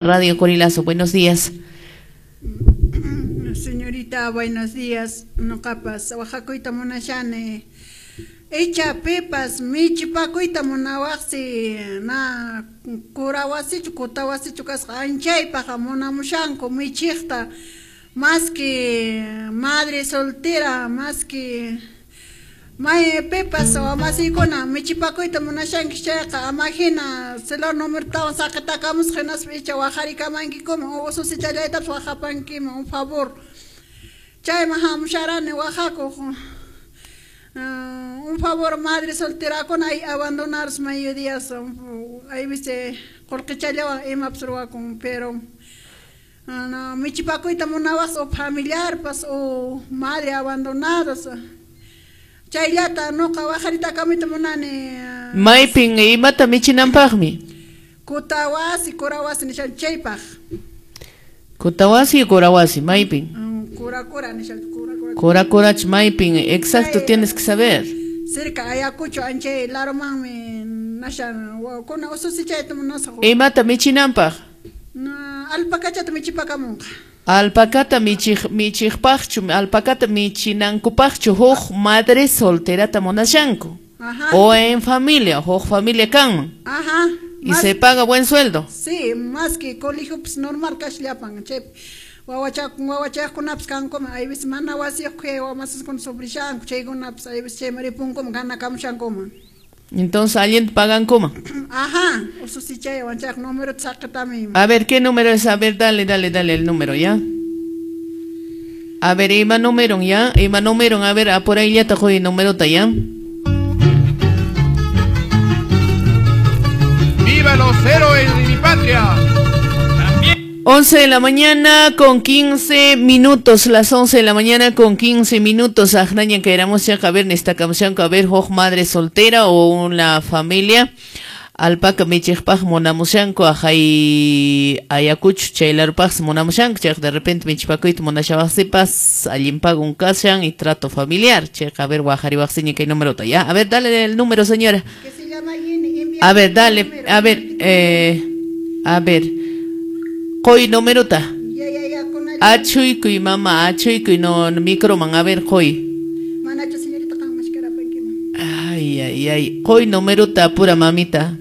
Radio Corilazo. Buenos días. Señorita, buenos días. Noqapas waqakuyta munashani. Icha pipas michipakuyta munawaqsi na kurawasichu kutawasichu kasqa anchaypaq munamushanku michiqta maski madre soltera maski may pipas wamasiykuna michipakuyta munashanki chayqa ama hina celular numerotawan saqitakamusqa hinaspa icha waqarikamankikuman o ususichallaytapas waqapankiman un favor chayman hamusharani waqakuq. Un favor madre solterakuna ay abandonar medio días ahí viste qullqichallawan imapas ruwakun pero no, michipakuyta munawaq o familiarpas o madre abandonadas chayllata nuqa waqaritakamuyta munani. Maypin imata michinanpaqmi? Kutawasi, kurawasi nishan chaypaq. Kutawasi, kurawasi, maypin. Kura kura nishan kura kura. Kura kurach maypin, exacto, tienes que saber. Cerca Ayacucho anchay larumanmi nashan kuna ususichayta munasaq. Imata michinanpaq? Alpacachata michipakamunqa. Alpacata michiqpaqchu, alpacata michinankupaqchu huk madre solterata munashanku. Ajá. O en familia, huk familia kanman. Ajá. Y se paga buen sueldo. Sí, más que colegio pues normal kasllapan chay wawachaqkunapas kankuman ayvis mana wasiyuq kay wamasiskuna sufrishanku chaykunapas ayvis chayman ripunkuman ganakamushankuman. Entonces, ¿alguien pagan cómo? Ajá, ususichaywan chayqa numerota saqitami. A ver, ¿qué número es? A ver, dale, dale, dale el número, ¿ya? A ver, ima número, ¿ya? Ima número, a ver, por ahí ya te joy número, ¿ya? ¡Viva los héroes de mi patria! 11 de la mañana con 15 minutos, las 11 de la mañana con 15 minutos. Ajnaña que éramos ya a ver, a ver, hoj madre soltera o una familia. Alpaca michijpaj munamushanku, ajay Ayacucho, chaylarupaj munamushanku, chayq de repente michipakuyta munashawaqsipas, allinpagun kashan y trato familiar. Chayq a ver, waqariwaqsiña kay numerota, ya. A ver, dale el número, señora. Que se llama Yini, A ver, dale, a ver, a ver. Qoy numerota. Ya, con el. Achuykuy mama, achuykuy no microman, a ver, qoy. Manachu señorita qanmashkarapankiman. Ay, ay, ay. Qoy numerota pura mamita.